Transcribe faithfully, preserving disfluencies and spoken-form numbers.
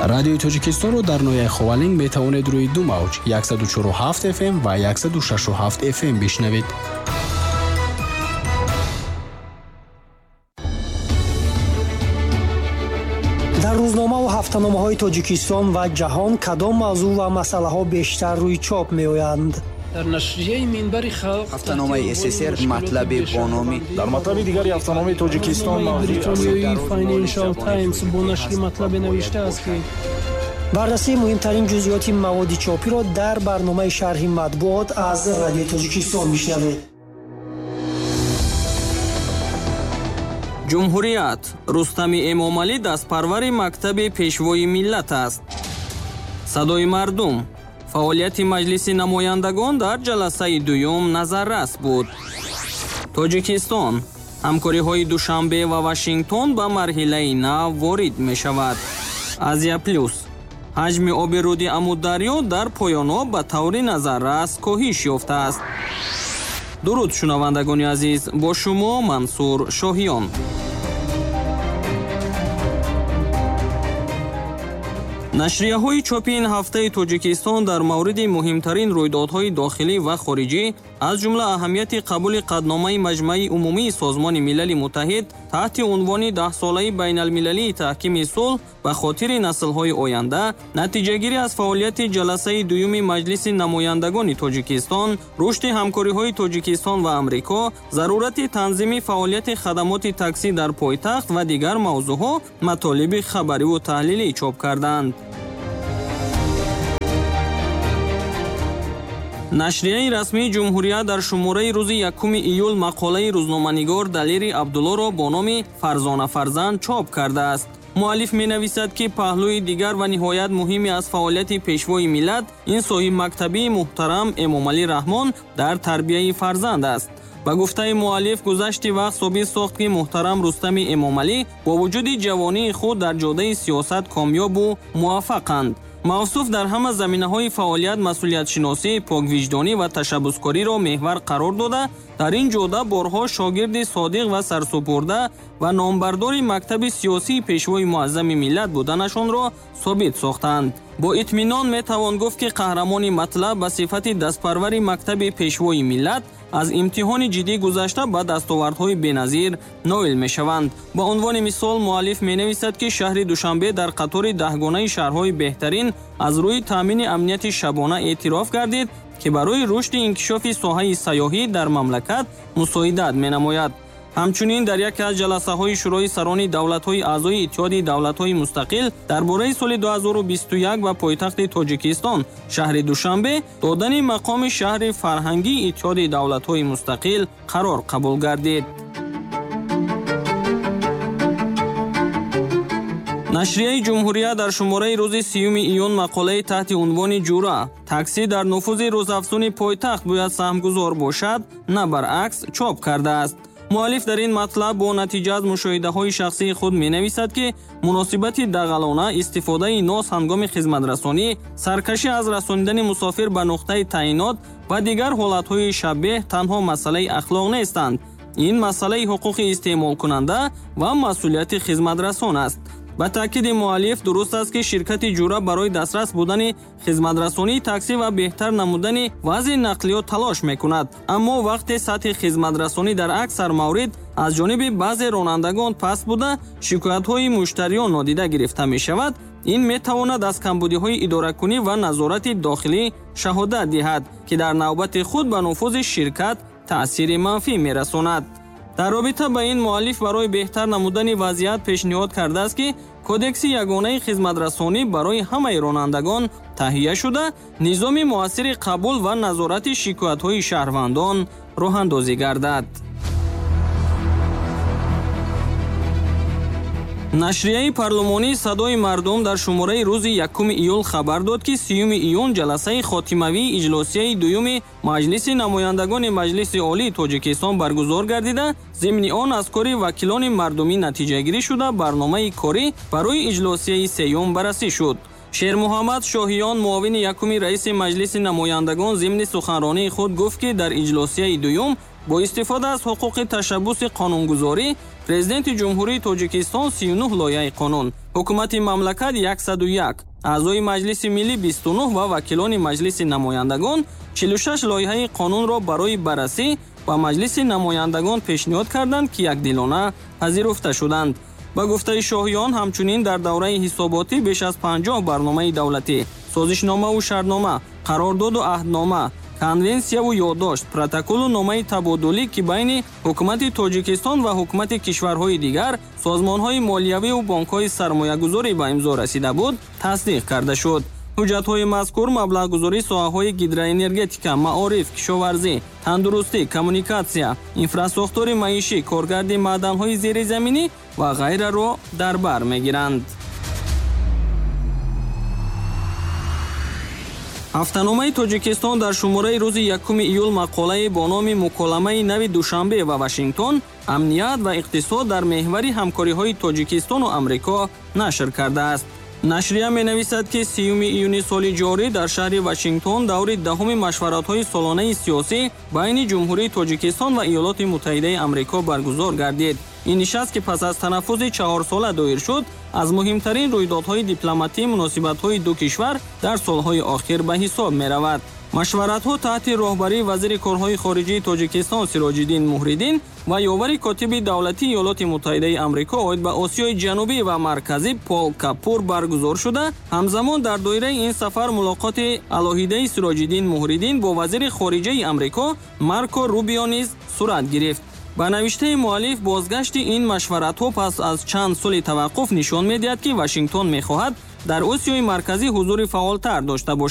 Радиои Тоҷикистонро дар ноҳияи Ховалинг метавонед рӯи ду мавҷ яксаду чору ҳафт эф эм ва яксаду шашу ҳафт эф эм бишнавед. Дар рӯзнома ва ҳафтаномаҳои Тоҷикистон ва ҷаҳон кадом мавзӯъ ва масъалаҳо бештар рӯи чоп меоянд? Дар нашрияи Минбари халқ ҳафтаномаи СССР матлабе бо номи дар матлаби дигари ҳафтаномаи Тоҷикистон Бритониёи Financial Times бо нашри матлабе навиштааст, ки баррасии муҳимтарин ҷузъиёти маводи чопиро дар барномаи шарҳи матбуот аз Радиои Тоҷикистон бишнавед. Ҷумҳурият. Рустами Эмомалӣ дастпарвари мактаби пешвои миллат аст. Садои мардум. Фаъолияти Маҷлиси намояндагон дар ҷаласаи дуюм назаррас буд. Тоҷикистон. Ҳамкориҳои Душанбе ва Вашингтон ба марҳилаи нав ворид мешавад. Азия Плюс. Ҳаҷми оби руди Амударё дар поёноб ба таври назаррас коҳиш ёфтааст. Дуруд, шунавандагони азиз, бо шумо Мансур Шоҳиён. Нашрияҳои чопи ин ҳафтаи Тоҷикистон дар мавриди муҳимтарин рӯйдодҳои дохилӣ ва хориҷӣ, аз ҷумла аҳамияти қабули қадномаи Маҷмаи Умумии Созмони Милали Муттаҳид таҳти унвони даҳсолаи байналмилалии таҳкими сулҳ ба хотири наслҳои оянда, натиҷагирӣ аз фаъолияти ҷаласаи дуюми Маҷлиси намояндагони Тоҷикистон, рушди ҳамкориҳои Тоҷикистон ва Амрико, зарурати танзими фаъолияти хадамоти таксӣ дар пойтахт ва дигар мавзӯъҳо матолиби хабариву таҳлилӣ чоп карданд. Нашрияи расмии Ҷумҳурият дар шумораи рӯзи якуми июл мақолаи рӯзноманигор Далери Абдуллоро бо номи Фарзона фарзанд чоп кардааст. Муаллиф менависад, ки паҳлӯи дигар ва ниҳоят муҳиме аз фаъолияти пешвои миллат ин соҳибмактабии муҳтарам Эмомалӣ Раҳмон дар тарбияи фарзанд аст. Ба гуфтаи муаллиф, гузашти вақт собит сохт, ки муҳтарам Рустами Эмомалӣ бо вуҷуди ҷавонии худ дар ҷодаи сиёсат комёбу муваффақанд. Мавсуф дар ҳама заминаҳои фаъолият масъулиятшиносӣ, поквиҷдонӣ ва ташаббускориро меҳвар қарор дода, дар ин ҷода борҳо шогирди содиқ ва сарсупурда ва номбардори мактаби сиёсии пешвои муаззами миллат буданашонро собит сохтанд. Бо итминон метавон гуфт, ки қаҳрамони матлаб ба сифати дастпарвари мактаби пешвои миллат аз имтиҳони ҷиддӣ гузашта ба дастовардҳои беназир ноил мешаванд. Ба унвони мисол, муаллиф менависад, ки шаҳри Душанбе дар қатори даҳгонаи шаҳрҳои беҳтарин аз рӯи таъмини амнияти шабона эътироф гардид, ки барои рушди инкишофи соҳаи сайёҳӣ дар мамлакат мусоидат менамояд. Ҳамчунин дар яке аз ҷаласаҳои Шӯрои сарони давлатҳои аъзои Иттиҳоди давлатҳои мустақил дар бораи соли ду ҳазору бисту як ба пойтахти Тоҷикистон, шаҳри Душанбе, додани мақоми шаҳри фарҳангии Иттиҳоди давлатҳои мустақил қарор қабул гардид. Нашрияи Ҷумҳурият дар шумораи рӯзи сиюми июн мақолаи таҳти унвони Ҷура таксӣ дар нуфузи рӯзафзуни пойтахт бояд саҳмгузор бошад, на баръакс чоп кардааст. Муаллиф дар ин матлаб бо натиҷа аз мушоҳидаҳои шахсии худ менависад, ки муносибати дағалона, истифодаи нос ҳангоми хизматрасонӣ, саркашӣ аз расонидани мусофир ба нуқтаи таъинот ва дигар ҳолатҳои шабеҳ танҳо масъалаи ахлоқ нестанд. Ин масъалаи ҳуқуқи истеъмолкунанда ва масъулияти хизматрасон аст. Ба таъкиди муаллиф, дуруст аст, ки ширкати Ҷура барои дастрас будани хизматрасонии таксӣ ва беҳтар намудани вазъи нақлиёт талош мекунад. Аммо вақте сатҳи хизматрасонӣ дар аксар маврид аз ҷониби баъзе ронандагон паст буда, шикоятҳои муштариён нодида гирифта мешавад, ин метавонад аз камбудиҳои идоракунӣ ва назорати дохилӣ шаҳодат диҳад, ки дар навбати худ ба нуфузи ширкат таъсири манфӣ мерасонад. Дар робита ба ин муаллиф барои беҳтар намудани вазъият пешниҳод кардааст, ки кодекси ягонаи хизматрасонӣ барои ҳамаи ронандагон таҳия шуда, низоми муассири қабул ва назорати шикоятҳои шаҳрвандон роҳандозӣ гардад. Нашрияи парлумонии Садои мардум дар шумораи рӯзи якуми июл хабар дод, ки сиюми июн ҷаласаи хотимавии иҷлосияи дуюми Маҷлиси намояндагони Маҷлиси Олии Тоҷикистон баргузор гардида, зимни он аз кори вакилони мардумӣ натиҷагирӣ шуда, барномаи корӣ барои иҷлосияи сеюм баррасӣ шуд. Шермуҳаммад Шоҳиён, муовини якуми раиси Маҷлиси намояндагон, зимни суханронии худ гуфт, ки дар иҷлосияи дуюм бо истифода аз ҳуқуқи ташаббуси қонунгузорӣ Президенти Ҷумҳурии Тоҷикистон сию нӯҳ лоиҳаи қонун, ҳукумати мамлакат яксаду як, аъзои Маҷлиси Миллӣ бисту нӯҳ ва вакилони Маҷлиси Намояндагон чилу шаш лоиҳаи қонунро барои баррасӣ ба Маҷлиси Намояндагон пешниҳод карданд, ки якдилона пазируфта шуданд. Ба гуфтаи Шоҳиён, ҳамчунин дар давраи ҳисоботӣ беш аз панҷоҳ барномаи давлатӣ, созишномаву шартнома, қарордоду аҳднома, конвенсияву ёддошт, протоколу номаи табодулӣ, ки байни ҳукумати Тоҷикистон ва ҳукумати кишварҳои дигар, созмонҳои молиявиву бонкҳои сармоягузорӣ ба имзо расида буд, тасдиқ карда шуд. Ҳуҷҷатҳои мазкур маблағгузории соҳаҳои гидроэнергетика, маориф, кишоварзӣ, тандурустӣ, коммуникатсия, инфрасохтори маишӣ, коргарди маъданҳои зеризаминӣ ва ғайраро дар бар мегиранд. Ҳафтаномаи Тоҷикистон дар шумораи рӯзи якуми июл мақолае бо номи «Муколамаи нави Душанбе ва Вашингтон, амният ва иқтисод дар меҳвари ҳамкориҳои Тоҷикистону Амрико» нашр кардааст. Нашрия менависад, ки сиюми июни соли ҷорӣ дар шаҳри Вашингтон даври даҳуми машваратҳои солонаи сиёсӣ байни Ҷумҳурии Тоҷикистон ва Иёлоти Муттаҳидаи Амрико баргузор гардид. Ин нишаст, ки пас аз танаффузи чаҳорсола доир шуд, аз муҳимтарин рӯйдодҳои дипломатии муносибатҳои ду кишвар дар солҳои охир ба ҳисоб меравад. Машваратҳо таҳти роҳбарии вазири корҳои хориҷии Тоҷикистон Сироҷиддин Муҳриддин ва ёвари котиби давлатии Иёлоти Муттаҳидаи Амрико оид ба Осиёи Ҷанубӣ ва Марказӣ Пол Капур баргузор шуда, ҳамзамон дар доираи ин сафар мулоқоти алоҳидаи Сироҷиддин Муҳриддин бо вазири хориҷаи Амрико Марко Рубио низ сурат гирифт. Ба навиштаи муаллиф, бозгашти ин машваратҳо пас аз чанд соли таваққуф нишон медиҳад, ки Вашингтон мехоҳад дар Осиёи Марказӣ ҳузури фаъолтар дошта бошад.